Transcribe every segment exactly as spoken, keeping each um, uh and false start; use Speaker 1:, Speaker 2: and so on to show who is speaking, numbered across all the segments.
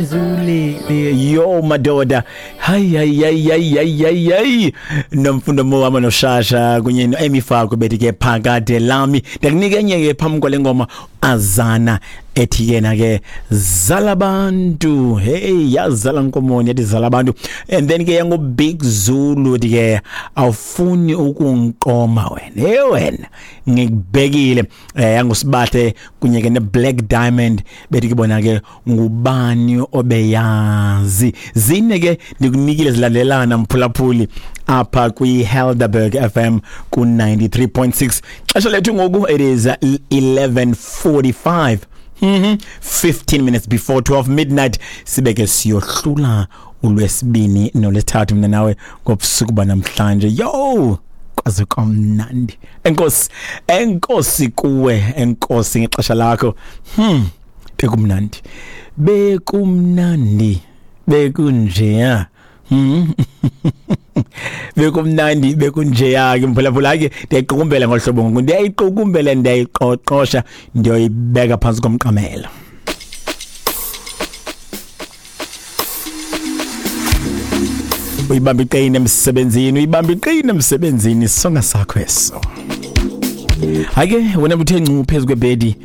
Speaker 1: Nizulele yo madoda, hayi hayi hayi hayi hayi hayi hayi. Nomfundo Mohama noShasha kunye no-Amy Fako bethi ke phakade lami. Ndakunika enye ke phambi kwale ngoma, Azana ethi yena ke zala abantu. Hey, yazala nkomoni, yathi zala abantu. And then ke yango Big Zulu ethi ke awufuni ukungiqoma wena, hey wena ngikubhekile. Eh yangusibathe kunye ke ne Black Diamond bethi ke bona ke ngubani obeyazi. Zine ke ndikunikile zilandelana mphulaphuli apha kwi Helderberg F M ku ninety-three point six. Xesha lethu ngoku it is eleven forty-five. Mhm fifteen minutes before twelve midnight. Sibeke siyohlula ulwesibini nolwesithathu mina nawe ngobusuku banamhlanje. Yo, kwaze kwamnandi. Enkosi, enkosi kuwe, enkosi ngexesha lakho. Hmm, bekumnandi. Bekumnandi. Bekunjeya. Hmm. Bekumnandi bekunjeya ke mphulaphula ke ndiyayiqukumbela ngohlobo ngoku, ndiyayiqukumbela ndiyayiqoqosha ndiyoyibeka phantsi komqamelo. Uyibamba iqine emsebenzini, uyibamba iqine emsebenzini, songa sakho eso. Hayi ke wena buthe ncu phezu kwebhedi,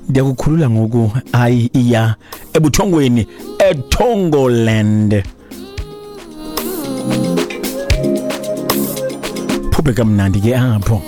Speaker 1: ndiyakukhulula ngoku. Hayi iya ebuthongweni eThongoland. Phuphe kamnandi ke apho.